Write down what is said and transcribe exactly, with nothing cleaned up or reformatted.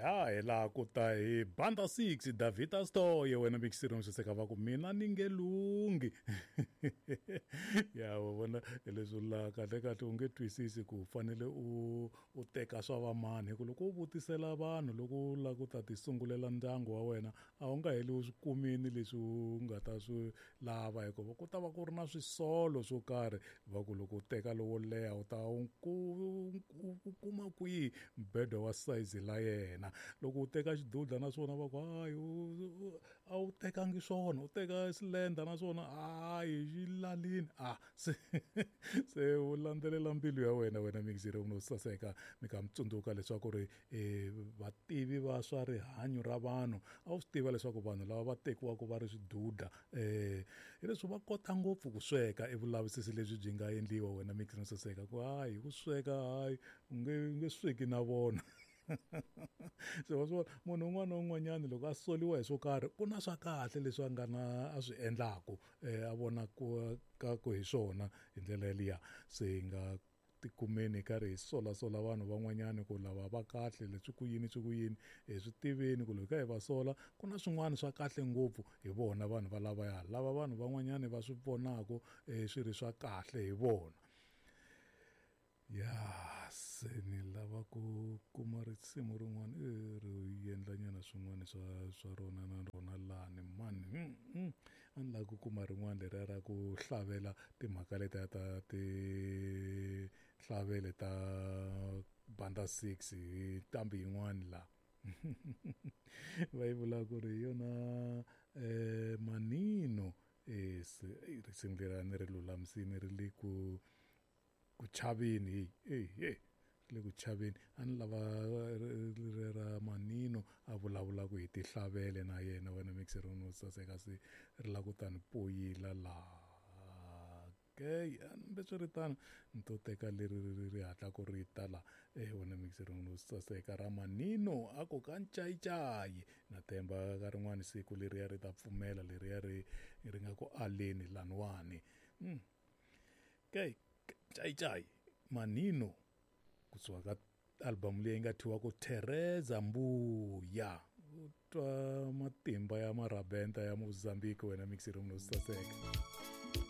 Ya hi laha ku ta hi Banda six David Astoye wena mixirong swiseka va ku mina ni nge lunghi. Ya wa vona leswi la kahle kahle u nge twisisi ku fanele u u teka swa vamani hi ku loko u vutisela vanhu loko u lava ku ta ti sungulela ndyangu wa wena a wu nga heli u swi kumini leswi u nga ta swi lava hikuva ku ta va ku ri na swisolo swo karhi va ku loko u teka lowo leha u ta u u kuma kwihi mbedo wa size la yena loko u teka xidudla naswona va ku hayi a wu tekangi swona u teka silenda naswona hayi xi lalini a se se u landzelela mbilu ya wena wena mixire u no saseka mi ka mi tsundzuka leswaku ri vativi va swa rihanyo ra vanhu a wu swi tiva leswaku vanhu lava va tekiwaka va ri swidudla um hileswi va kota ngopfu ku sweka i vulavisisi lebyi byi nga endliwa wena mixire no saseka ku hayi ku sweka hayi u nge u nge sweki na vona. Se wa swi vona munhu un'wana na un'wanyana loko a soliwa hi swo karhi ku na swa kahle leswi a nga na a swi endlaku a vona ku ka ku hi swona hi ndlela yaliya se hi nga tikumeni hi karhi hi solasola vanhu van'wanyana ku lava va kahle leswi ku yini swi ku yini hi swi tiveni ku loko hi kha hi va sola ku na swin'wana swa kahle ngopfu hi vona vanhu va lavaya lava vanhu van'wanyana va swi vonaku swi ri swa kahle hi vona. Ya se ni lava ku kuma risimu rin'wana ri endlanyana swin'wana swa swa rona na rona lani mani a ni lava ku kuma rin'wana leriya ra ku hlavela timhaka letiya ta tihlavele ta Banda six hi nqambi yin'wani la va yi vula ku ri hi yona Manino se risimu leriya ni ri lulamisini ri le ku ku chaveni hey hey ri le ku chaveni a ni lava ri ra Manino a vulavulaka hi tihlavele na yena wena mixer no saseka se ri lava ku ta ni poyila laha okay hambiswiritano ni to teka leri ri ri hatlaku ri ta la eh wena mixer no saseka ra Manino a ku ka ncayicayi na themba ka rin'wana siku leriya ri ta pfumela leriya ri ri nga ku aleni laniwani mm. Okay Chai Manino kusuka ka album leyi nga thyiwa ku Teresa Mbuya u twa matimba ya marabenta ya Mozambique wena mixer no saseka.